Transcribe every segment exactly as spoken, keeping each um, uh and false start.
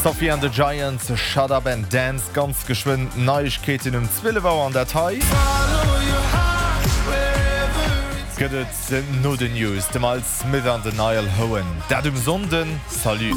Sophie and the Giants, Shut Up and Dance, ganz geschwënn Neiegkeeten um zwielef Auer an dat hei gëtt et no den News, de Miles Smith an den Niall Horan. Dat um Sonnden, salut.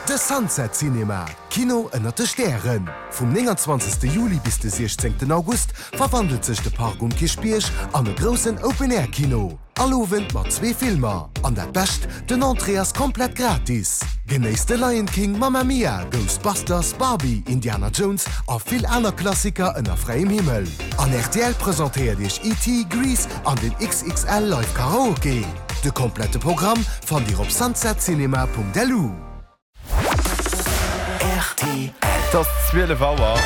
De Sunset Cinema, Kino ënner de Stären. Vum neunundzwanzegste Juli bis de siechzéngten August verwandelt sech de Park um Kierchbierg an e groussen Open-Air-Kino. All Owend mat zwee Filmer. An dat Bescht, den Entrée ass komplett gratis. Genéisst de Lion King, Mamma Mia, Ghostbusters, Barbie, Indiana Jones a vill aner Klassiker ënner fräiem Himmel. An R T L presentéiert Iech E T. Grease an den X X L Live Karaoke. De komplette Programm fannt Dir op sunsetcinema Punkt L U. R T L. Et ass zwielef Auer.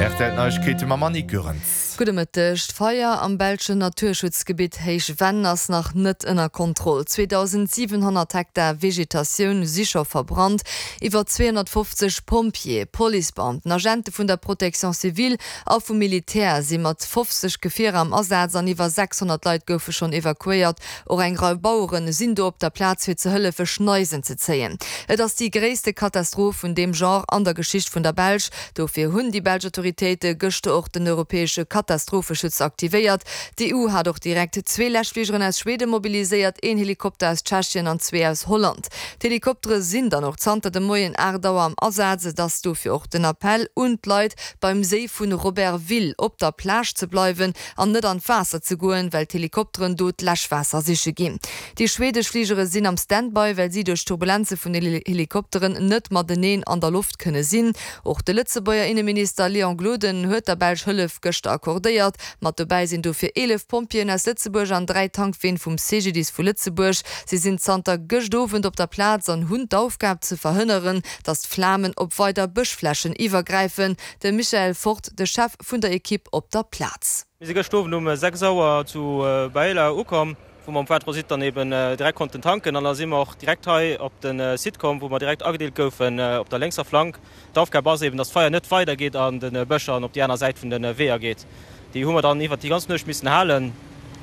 R T L Neiegkeete mam Annick Goerens. Gudde Mëtteg. D'Feier am belschen Naturschutzgebitt Héich Venn ass nach net ënner Kontroll. zweedausentsiwenhonnert Hektar Vegetatioun si scho verbrannt. Iwwer zweehonnertfofzeg Pompjeeë, Policebeamten, Agente vun der Protection civile a vum Militär si mat fofzeg Gefierer am Asaz an iwwer sechshonnert Leit goufe schonn evakuéiert. Och eng Rei Bauere sinn do op der Plaz fir ze hëllefe Schneisen ze zéien. Et ass déi gréisste Katastroph vun deem Genre an der Geschicht vun der Belsch. Dofir hunn déi belsch Autoritéite gëschter och den europäesche Katastropheschutz aktivéiert. D'E U hat och direkt zwee Läschfligeren aus Schweden mobiliséiert, een Helikopter aus Tschechien an zwee aus Holland. D'Helikoptere sinn dann och zanter de Moien aacht Auer am Asaz. Et ass dofir och den Appell un d'Leit, beim Séi vun Robertville op der Plage ze bleiwen an net an d'Waasser ze goen, well d'Helikopteren do d'Läschwaasser siche ginn. Déi schwedesch Fligere sinn am Standby, well si duerch Turbulenze vun den Helikopteren net mateneen an der Loft kënne sinn. Och de Lëtzebuerger Inneminister Léon Gloden huet der Belsch Hëllef gëschter accordéiert. Mat dobäi sinn dofir eelef Pompjeeën aus Lëtzebuerg an dräi Tankween vum C G D I S vu Lëtzebuerg. Si sinn zanter gëscht Owend op der Plaz an hunn d'Aufgab ze verhënneren, datt d'Flamen op weider Bëschflächen iwwergräifen. De Michael Fort, de Chef vun der Ekipp op der Plaz. Mir si gëscht Owend um sechs Auer zu Beyla ukomm, wou mer um Point Transit dann eben direkt konnten tanken an da si mer och direkt hei op de Site komm, wou mer direkt agedeelt goufen op der lénkser Flank. D'Aufgab ass eben, dass d'Feier net weidergeet an de Bëscher an op déi aner Säit vun de Weeër geet. Déi hu mer dann iwwert déi ganz Nuecht missen halen,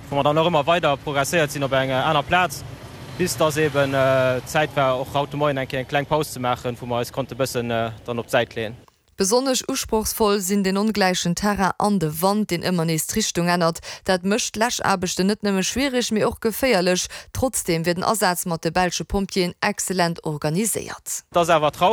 wou mer dann och ëmmer weider progresséiert sinn op eng aner Plaz, bis dass eben Zäit war, och haut de Moien eng Kéier eng kleng Paus ze maachen, wou mer eis konnte bëssen dann op d'Säit leeën. Besonnesch usprochsvoll sinn den ongläichen Terrain an de Wand, deen ëmmer nees d'Richtung ännert. Dat mécht d'Läschaarbechten net nëmme schwiereg, mee och geféierlech. Trotzdeem wier den Asaz mat de belsche Pompjeeën exzellent organiséiert. Et ass awer traureg.